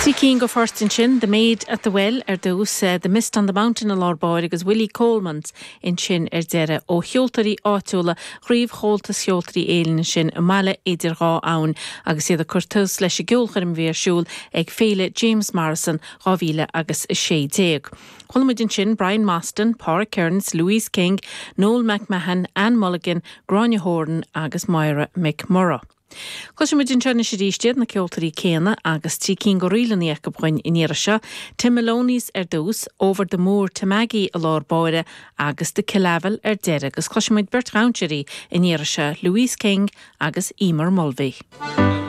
Trí cinn de phoirt ansin, The Maid at the Well ar dtús, The Mist on the Mountain i lár báire agus Willie Coleman's ansin ar deireadh. Ó cheoltóirí áitiúla Chraobh Chomhaltas Cheoltóirí Éireann ansin i mBaile Idir Dhá Abhainn agus iad ag cur tús leis an gceolchoirm a bhí ar siúl ag Féile James Morrison 2000 agus 16. Chuala muid ansin Brian Mostyn, Pádraig Kearns, Louise King, Noel McMahon, Anne Mulligan, Gráinne Horan agus Moira McMurrough. Cloisfidh muid anseo anois arís iad, na ceoltóirí céanna, agus trí cinn de ríleanna acu dhuinn an iarraidh seo, Tim Maloney's ar dtús, Over the Moor to Maggie i lár báire agus The Killavil ar deireadh agus cloisfidh muid beirt dhainséaraí an iarraidh seo, Louise King agus Eimear Mulvey.